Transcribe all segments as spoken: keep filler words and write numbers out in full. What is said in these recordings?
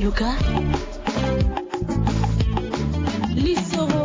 Luka. Lisoro.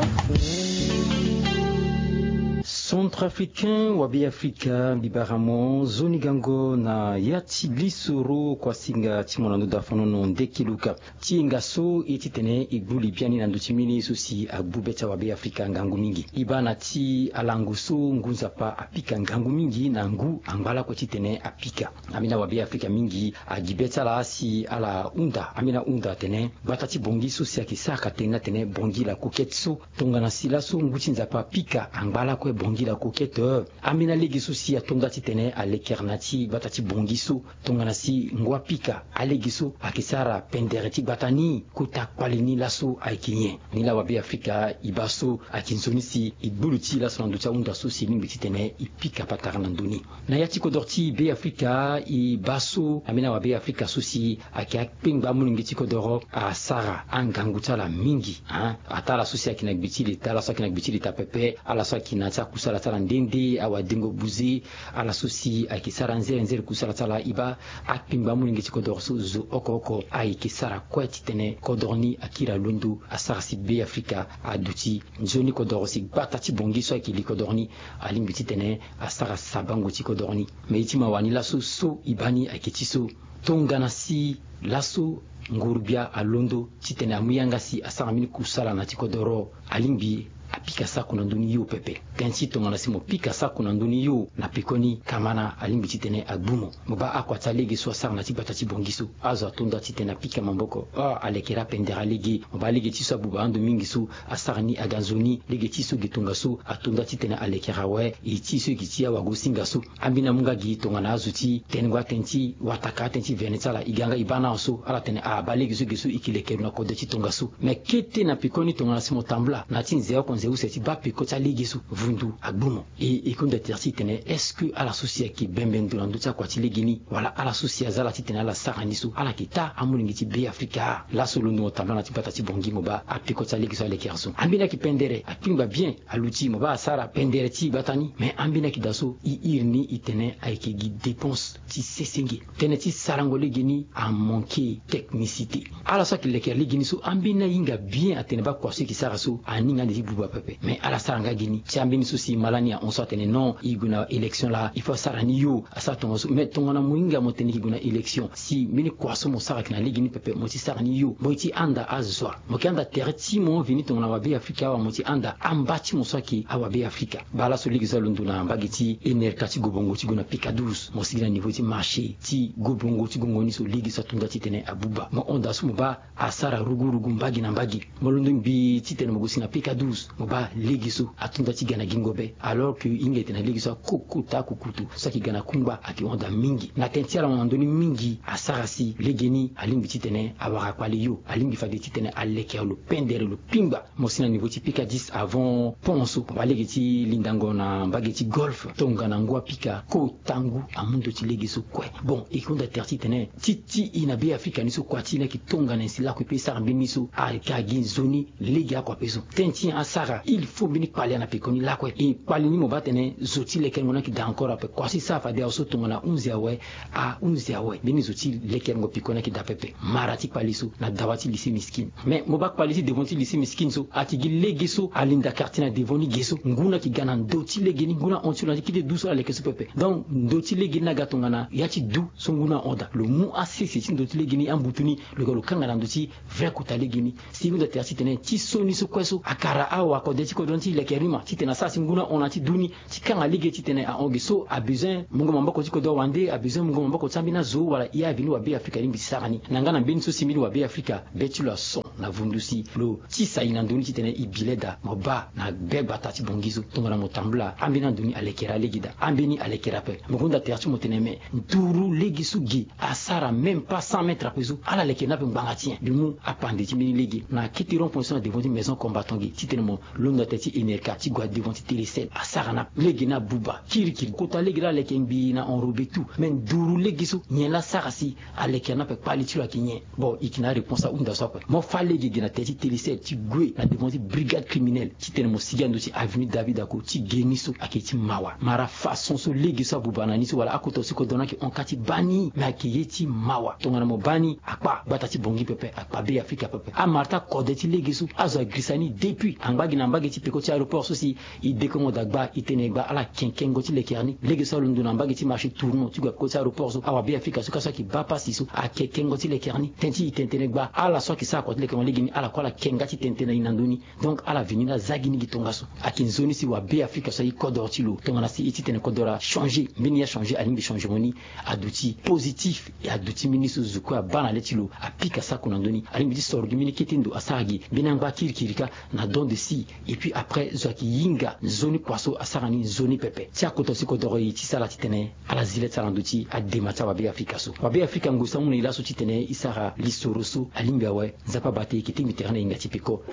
Centrafricain wa Beafrika, mbi bara mo nzoni gango na ya ti lisoro kuasinga ti mo na ndo da fanono ndeke luka. Ti hinga so e titene e gbu li biani na ndö ti mbeni ye so si agbu be ti awa Beafrika ngangu mingi. E baa na ti alango so ngu nzapa apika ngangu mingi na ngu angba lakue titene apika. Ambeni awa Beafrika mingi agi be ti ala si ala hunda, ambeni ahunda atene gbata ti bongi so si ayeke sara ka tene ni atene bongi la coquette so. Tongana si laso ngu ti nzapa apika angba lakue bongi la coquette, eh, ambeni alege so si ato nda titene alekere na ti gbata ti bongi so. Tongana si ngu apika, alege so ayeke sara pendere ti gbata ni kota kpale ni laso ayeke nyen? Ni la wa Beafrika e baa so ayeke nzoni si e gbu li ti e laso na ndö ti ahunda so si e lingbi titene e pika patara na ndö ni. Na ya ti kodoro ti Beafrika e baa so ambeni awa Beafrika so si ayeke akpengba amolenge ti kodoro asara angangu ti ala mingi, hein. Ataa ala so si ayeke na gbe ti leta, ala so ayeke na gbe ti leta pepe, ala so ayeke na ti akusala ti ala nde nde, awadengo buze, ala so si ayeke sara nzere nzere kusala ti ala, e baa akpengba amolenge ti kodoro so zo oko oko ayeke sara kue titene kodoro ni akiri alondo, asara si Beafrika aduti nzoni kodoro si gbata ti bongi so ayeke li kodoro ni alingbi titene asara sabango ti kodoro ni. Me ye ti mawa ni laso so e baa ni ayeke ti so. Tongana si laso nguru-gbia alondo titene amu yanga si asara mbeni kusala na ti kodoro, alingbi apika sako na ndö ni yo pepe. Tënë ti tongana si mo pika sako na ndö ni yo na pekoni, kamana alingbi titene agbu mo. Mo baa akua ti alege so asara na ti gbata ti bongi so, azo ato nda titene apika maboko. Ah, alekere apendere alege. Mo baa lege ti so abuba ando mingi so asara ni aga nzoni. Lege ti so ge tongaso ato nda titene alekere awe. E ti so e gi ti awagosinga so. Ambeni amu nga gi tongana azo ti tenengo atënë ti wataka atënë ti vene ti ala, e ga nga e baa na so ala tene ah, baa lege so ge so e ke lekere na kode ti tongaso. Me kete na pekoni tongana si mo tambula na ti nze oko nze use ti baa peko ti alege so, vundu agbu mo. E, e hunda tere ti e tene, est-ce que ala so si ayeke bembe ndo na ndö ti akua ti lege ni, wala ala so si aza ala titene ala sara ni so, ala yeke taa amolenge ti Beafrika? Laso londo mo tambula na ti gbata ti bongi, mo baa apeko ti alege so alekere so. Ambeni ayeke pendere, akpengba bien, aluti, mo baa asara pendere ti gbata ni. Me ambeni ayeke daa so, e iri ni e tene ayeke gi dépense ti sesenge. Tënë ti sarango lege ni amanke technicité. Ala so ayeke lekere lege ni so, ambeni ahinga bien atene baa kua so e yeke sara so aninga ande ti buba pepe. Me ala sara nga gi ni. Ti ambeni so si malani ahon so atene non, e gue na élection laa, il faut asara ni yo, asara tongaso. Me tongana mo hinga mo tene e ke gue na élection, si mbeni kua so mo sara ayeke na lege ni pepe, mo ti sara ni yo. Mo ye ti handa azo wa? Mo yeke handa tere ti mo veni tongana wa Beafrika awa, mo ti handa amba ti mo so ayeke awa Beafrika. Baa laso lege so alondo na mbage ti Enerka ti Gobongo ti gue na Pika douze, mo sigi na niveau ti marché ti Gobongo ti gongo ni so, lege so ato nda titene abuba. Mo hon daa so mo baa asara rugurugu mbage na mbage. Mo londo ngbii titene mo gue si na Pika douze, mo baa lege so ato nda ti ga na gingo be, alors que e hinga e tene na lege so akokota kukutu so ayeke ga na kungba ayeke hon daa mingi. Na tënë ti ala mo na ndö ni mingi asara si lege ni alingbi titene awara kpale yo, alingbi fade titene alekere lo pendere lo pingba. Mo si na niveau ti Pika dix avant pont so, mo baa lege ti lindango na mbage ti Golfe, tongana ngu apika, kota ngu amu ndö ti lege so kue. Bon, e hunda tere titene ti ti e na Beafrika ni so, kua ti e ni ayeke tongana nyen si lakue pe e sara mbeni so? Aga gi nzoni lege akua pe so. Tënë ti nyen asara? Il faut mbeni kpale ana pekoni lakue. E kpale ni mo baa tene zo ti lekerengo ni ayeke daa encore ape. Kua so e sara fade awe so tongana hunzi awe, ahunzi awe. Mbeni zo ti lekerengo pekoni ayeke daa pepe. Mara ti kpale so na dawa ti lycée Miskine. Mais mo baa kpale ti devant ti lycée Miskine so, ayeke gi lege so alinda quartier na devant ni ge so. Ngu ni ayeke ga na ndö ti lege ni, ngu ni ahon ti lo na ti kete du so ala leke so pepe. Donc ndö ti lege ni aga tongana ya ti du so ngu ni ahon daa. Lo mu asese ti ndö ti lege ni, ambutu ni, lo ga lo kanga na ndö ti vrai kota lege ni. Si e hunda tere titene ti so ni so kue so akara awa kode ti kodro ni ti leke rima titene asara si ngu ni ahon na ti du ni, ti kanga lege titene ahon ge so abezoin mungo maboko ti kodro wande, abezoin mungo maboko ti ambeni azo wala e aveni wa Beafrika alingbi ti sara ni. Na nga na mbeni so si mbeni wa Beafrika be ti lo ason na vundu si lo tisa e na ndö ni titene e bi leda. Mo baa na be gbata ti Bongi so tongana mo tambula ambeni ando ni alekere alege daa, ambeni alekere ape. Mo hunda tere ti mo tene me nduru lege so ge asara même pas cent mètres ape so, ala leke ni ape ngbanga ti nyen? Mbi mu apande ti mbeni lege na kete rond point so na devant ti maison combattant ge titene mo londo na tere ti Enerka ti gue na devant ti Telecel, asara na lege ni abuba kirikiri. Kota lege laa aleke ngbii na enrobe tout. Me nduru lege so nyen laa asara si aleke ni ape, kpali ti lo ayeke nyen? Bon, e yeke na aréponse ahunda so ape. Mo fa Lege gi na tere ti Telecel ti gue na devant ti brigade criminelle titene mo sigi na ndö ti avenue David Ako ti ge ni so ayeke ti mawa. Mara façon so lege so abuba na ni so wala akota so kodoro ni ayeke hon ka ti baa ni, me ayeke ye ti mawa. Tongana mo baa ni, akpa gbata ti Bangui pepe, akpa Be Afrika pepe. Amara ti akode ti lege so azo agirisa ni depuis angba gi na mbage ti peko ti aéroport so si e dekongo daa gba, e tene gba ala ken kengo ti lekere ni. Lege so alondo na mbage ti marché tournant ti gue na peko ti aéroport so, awa Be Afrika so ka so ayeke baa pasi so ake kengo ti lekere ni. Tënë ti e tene tene gba ala so ayeke sara kua ti lekere ni lege ni, ala kue ala ken nga ti tene tene na e na ndö ni. Donc ala veni ni, aza gi ni gi tongaso. Ayeke nzoni si wa Be Afrika so aye kodoro ti lo. Tongana si e titene kodoro achangé, mbeni achangé, alingbi changement ni aduti positif, e aduti mbeni so zo kue abaa na le ti lo, apika sako na ndö ni. Alingbi ti soro gi mbeni kete ndo asara gi mbeni angba kirikiri kâ na don de si. Et puis après, zo ayeke hinga nzoni kua so asara ni nzoni pepe. Ti akota si kodoro e ti sara titene ala zi le ti sara na ndö ti adema ti awa Be Afrika so. Wa Be Afrika, ngoi so amu na e laso titene e sara lisoro so alingbi awe. Nzapa bate e, e ke tingbi tere na e nga ti peko.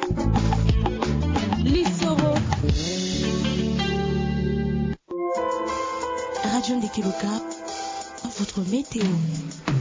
Lisoro. Radio Ndeke Loka, votre météo.